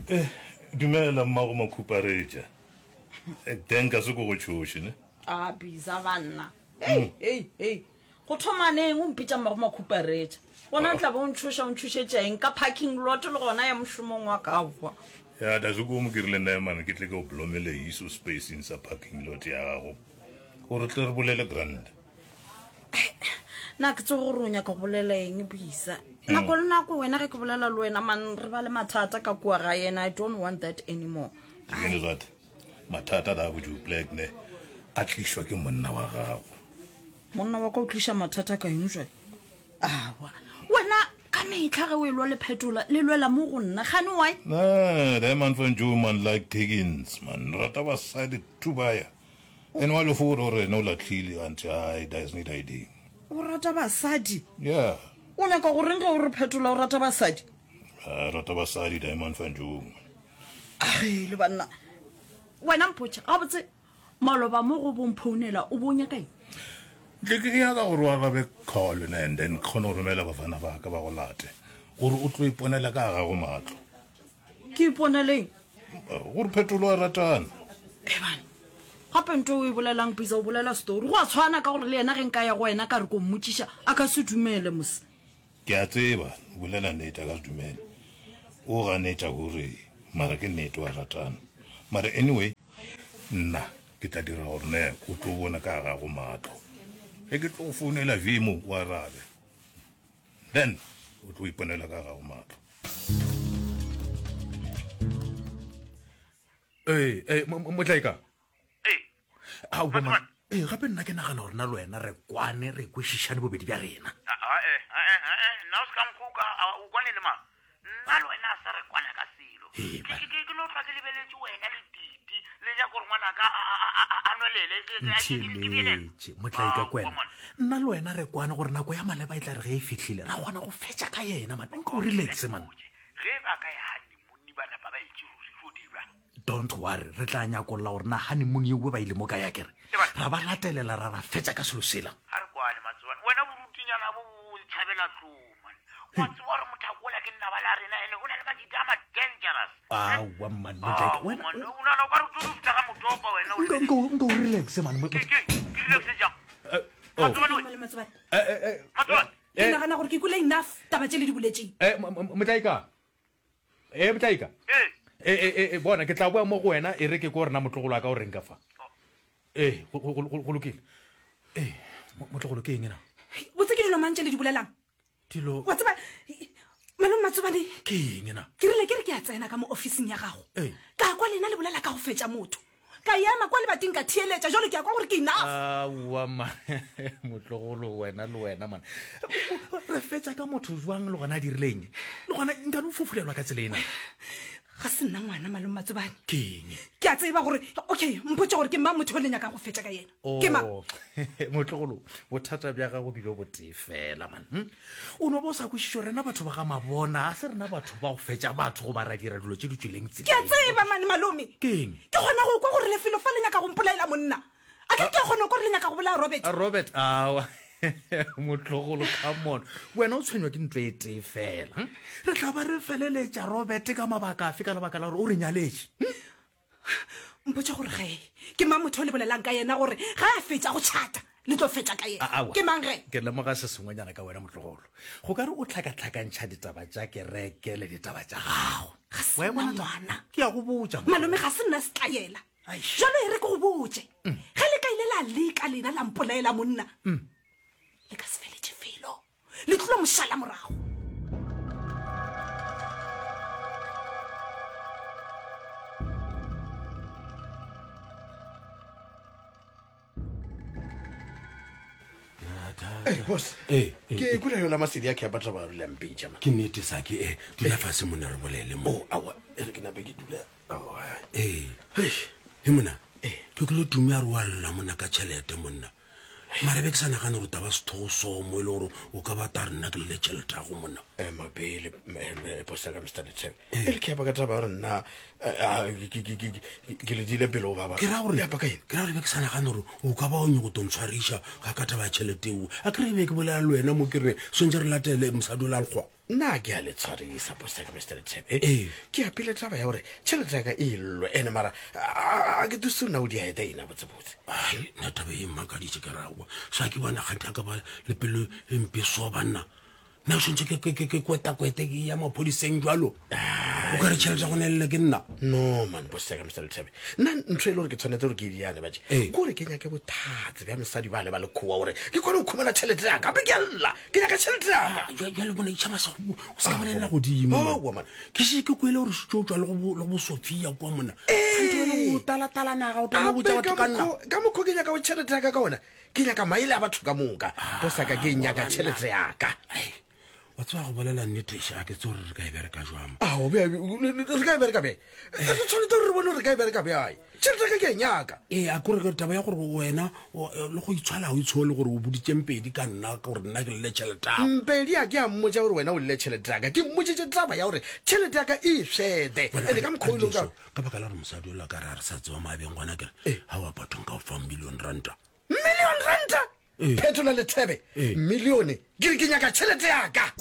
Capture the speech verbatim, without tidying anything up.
Eh, dumela mmago makhuparetša. Eh, Teng ka se ko go tšhoše ne. A bisa banna. Hei, hei, hei. Go thoma neng o mpitša mmago makhuparetša? Gona tla be o ntšhoša o ntšhošetša eng ka parking lot le gona ya mošomong wa ka kwa. Ya da se ko mo ke rile nna mane ke tle ke o blomele iso spacing sa parking lot ya gago. Gore tle re bolele grand. Na ke tsebe gore o nyaka go bolela eng bisa. Nako le nako wena ge ke bolela le wena man re ba le mathata ka kua ga yena. I don't want that anymore. You know what? Mathata da go black ne a tlišwa ke monna wa gago. Monna wa ka o tliša mathata ka eng jwale? Awa. Wena ka metlha ge o e lwa le phetola le lwela mo go nna gane why? Nah, that man van Joe man like Higgins man. Rata basadi tubaya. And wa le fo gore no latlhile anti ai there's need ID. O rata basadi? Yeah. O nyaka go reng ge o re phetola o rata basadi? A rata basadi Diamond van Joe. Age le banna. Wena mpotše gabotse maloba mo go bomphounela o bo nyaka eng? Tle ke nyaka gore o arabe call ne and then ke kgone go romela bafana ba ka ba go late gore o tlo iponela ka gago matlo. Ke iponeleng? Gore phetolo a ratana. Ebane. Gape nto o e bolelang bisa o bolela story. Go a tshwana ka gore le yena ge nka ya go wena ka re ko mmotšiša a ka se dumele mos. Ke a tseba, o bolela nnete a ka se dumele. O ganetša gore mara ke nnete wa ratana. Mara anyway, nna ke tla dira gore ne o tlo bona ka gago matlo. Ge ke tlo go founela Vimo o arabe. Then o tlo iponela ka gago matlo. Ee, ee, Motlaika. Ee. Aowa man. Ee, gape nna ke nagana gore na le wena re kwane re kwešišane bobedi bja rena. Ae, ae, ae, nna o se ka nkgoka, o kwane le mang? Nna le wena a sa re kwana ka selo. Ee, Ke ke ke no hlwa ke lebeletše wena le Titi le nyaka gore ngwanaka a a a a nwelele. Ntheeletše, Motlaika kwena. Nna le wena re kwane gore nako ya maleba e tla re ge e fihlile ra kgona go fetša ka yena man. Nka o relaxe man. Ge ba ka ya honeymoon ba napa ba itše ruri go dirwa. Don't worry, re tla nyakolla gore na honeymoon yeo ba ile mo kae akere. Ra ba latelela ra ra fetša ka selo sela. A re kwane Matsobane, wena borutinyana bo bo tšhabela tlou man. Wa tseba gore motho ola ke nnaba la rena ene o na le majita a ma dangerous. Aowa man, Motlaika, wena O nana o ka re o tlo fihla ga motopa wena o nka nka nka o relaxe man. Ke ke ke relaxe jang? Eh, oh. Matsobane we. Malome Matsobane. Eh, eh, eh, Matsobane. Ke nagana gore ke kwele enough taba tše le di boletšeng. Eh, Motlaika. Eh, Motlaika. Ee. Eh, eh, eh, bona ke tla boa mo go wena e re ke ko rena motlogolo wa ka o reng ka fa. Eh, go go go go lokile. Eh, motlogolo ke eng ena? Botse ke dilo mang tše le di bolelang? Dilo Wa tseba malome Matsobane. Ke eng ena? Ke rile ke re ke a tsena ka mo officing ya gago. Ee. Ka kwa lena le bolela ka go fetša motho. Ka ema kwa lebating ka theeletša jalo ke a kwa gore ke enough. Aowa man, motlogolo wena le wena man. Re fetša ka motho jwang le gona a dirileng? Le gona nka no fofulelwa ka tsela ena. Ga se nna ngwana malome Matsobane. Ke eng? Ke a tseba gore okay, mpotše gore ke mang motho o le nyakang go fetša ka yena. Ke mang? Oh, motlogolo, bothata bja gago bile botee fela man. Hm? O no ba o sa kwešiše rena batho ba ga Mabona, a se rena batho ba go fetša batho goba ra dira dilo tše di tšweleng tseleng. Ke a tseba mane malome. Ke eng? Ke kgona go kwa gore lefelo fa le nyaka go mpolaela monna. A ke ke kgona go kwa gore le nyaka go bolaya Robert. A Robert, aowa. Motlogolo, come on. Wena o tshwenywa ke ntlo e tee fela. Hm? Re tla ba re feleletša Robert ka mabaka afe ka lebaka la gore o re nyaletše. Hm? Mpotše gore ge ke mang motho o le bolelang ka yena gore ga a fetša go tšhata le tlo fetša ka yena. Aowa. Ke mang ge? Ke lemoga se sengwenyana ka wena motlogolo. Go ka re o tlhakatlhakantšha ditaba tša kereke le ditaba tša gago. Ga se Wa e bona nna taba? ngwana. Ke a go botša, Malome, ga se nna setlaela. Aish. Jalo e re ke go botše. Ge le ka ile la leka lena la mpolaela monna, le ka se feletše felo. Le tlilo mošala morago. Hey, boss. Eh, eh, Ke kwele yona masedi a ke a batla ba rile mpitša man. Ke nnete Saki, eh, dula fase monna re bolele mo. Oh, aowa, e re ke nape ke dula. Aowa. Ee. Hei. He monna, ke kwele Tumi a re wa lla monna ka tšhelete monna. Mara be ke sa nagane gore taba sethogo so mo e le gore o ka ba ta re nna ke le tšhelete ya go monna. Ema pele, eh, boss ya ka Mister Lethebe. E re ke ya ka taba ya gore nna, eh, ah, ke, ke, ke, ke, ke le dile pele go baba. Ke ra gore, Ya ka eng? ke ra gore be ke sa nagane gore o ka ba o nyako to ntshwariša ga ka taba ya tšhelete eo. A ke re be ke bolela le wena mo ke re swantse re latele mosadi o la lekgowa. Nna ke a le tshwarisa bosaka Mister Lethebe. Ee. Ke apile taba ya gore tšhelete ya ka e llwe ene mara a ke duse nna o di aeta ena botsebotse. Ai, nna taba e mmakaditše ke rawa sa ke bona kganthe a ka ba le pelo e mpe so banna nna o swantse ke kwetakwete ke ya maphodiseng jalo o ka re tšhelete ya go nelele ke nna. No man bosaka Mister Lethebe, nna ntho e le gore ke tshwanetse gore ke e diane batše Ee. ke gore ke nyake bothatse bja mosadi ba le ba lekgowa gore ke kgone go khumana tšhelete ya ka gape ke a lla ke nyaka tšhelete ya ka. Ah, jwa- jwale bona itšhaba sa go- o se ka bolelela godimo Aowa, man. Ke se ke kwele gore setse o tswa le go bo- le go bosofia kwa mona kganthe wena o talatala naga o tala Gape botsa batho ka ka nna mokgo- ka mokgwa ke nyaka go tšhelete ya ka ka ona ke nyaka maele a batho ka moka bosaka ke nyaka tšhelete ya ka. Ai, wa tseba go bolela nnete a ke tse gore re ka e bereka jwang. Ao, bja- re ka e bereka bjang? Re tshwanetse gore re bone gore re ka e bereka bjang. Tšhelete ya ka ke e nyaka. Ee, a kore ke taba ya gore wena o- le go itshwala ga o itshole gore o boditše Mpedi ka nna gore nna ke lele tšhelete ago. Mpedi a ke a mmotša gore wena o llele tšhelete ya ka. Ke mmotšitše taba ya gore tšhelete ya ka e fete. Ene ka mokgwa o ile ka ka baka la gore mosadi ola ka re a re sa tseba maabeng gona kere ga wa bathong ka o fa million ranta. Million ranta? Ee. Phetola Lethebe. Ee. Millione. Ke re ke nyaka tšhelete ya ka.